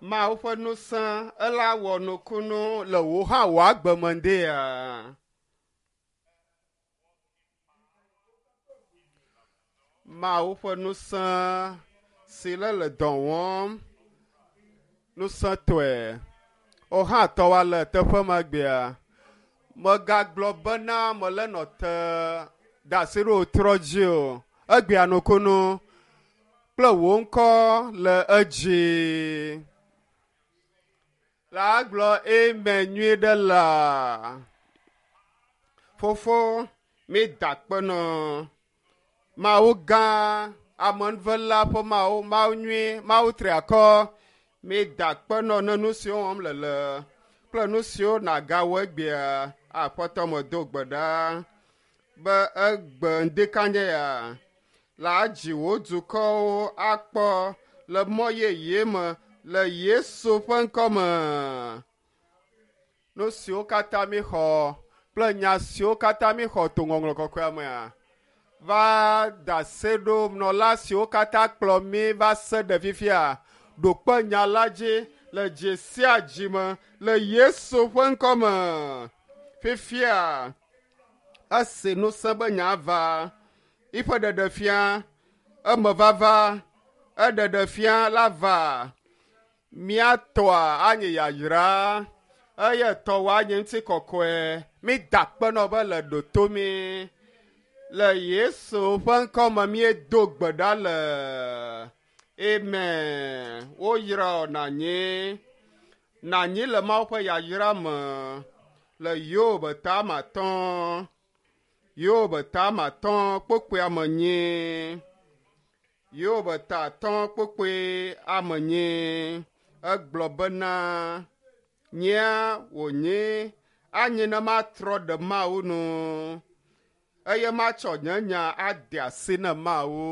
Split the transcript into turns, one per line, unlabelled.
Mawu ƒe ŋusẽ ela wɔ nukunu le wò hã wò agbe me ŋdea. Mawu ƒe ŋusẽ si le le dɔ wɔm ŋusẽtɔe. Wò hã tɔwòa le teƒe ma gbea. Megagblɔ bena mele nɔ te da asi ɖe wò trɔ dzi o. Egbea nukunu kple wò ŋkɔ le edzi. La gblɔ amen nyuie ɖe la. Fofo, mi da akpe nɔ. Mawu gã, amenuvela ƒe Mawu, Mawu nyui, Mawu triakɔ, mi da akpe nɔ ne nu siwo wɔm le le kple nu siwo nàgawɔ egbea. Aƒetɔ medo gbe ɖa be egbe ŋdikanye ya la dzi wò dukɔwo akpɔ le mɔ yeye me le Yesu ƒe ŋkɔ me. Nu siwo katã mi xɔ kple nya siwo katã mi xɔ to ŋɔŋlɔ kɔkɔea mea va da se ɖo nɔla siwo katã kplɔ mi va se ɖe fifia ɖo kpe nya la dzi le dzi sia dzi me le Yesu ƒe ŋkɔ me. Fifia esi ŋusẽ be nya va yiƒe ɖeɖefia emevava eɖeɖefia la va mía tɔa anye yayra eye tɔwò anye ŋutikɔkɔe. Mi da akpe nɔ be le ɖoto mi. Le Yesu ƒe ŋkɔ me míedo gbe ɖa le. Amen. Woyra wò nànyi. Nànyi le Mawu ƒe yayra me le Yob tame atɔ̃. Yob tame atɔ̃ kpukpui ame enyi. Yob ta atɔ̃ kpukpui ame enyi. Egblɔ bena, nyea wònye anyi ne matrɔ ɖe Mawu nu eye matsɔ nye nya ade asi ne Mawu.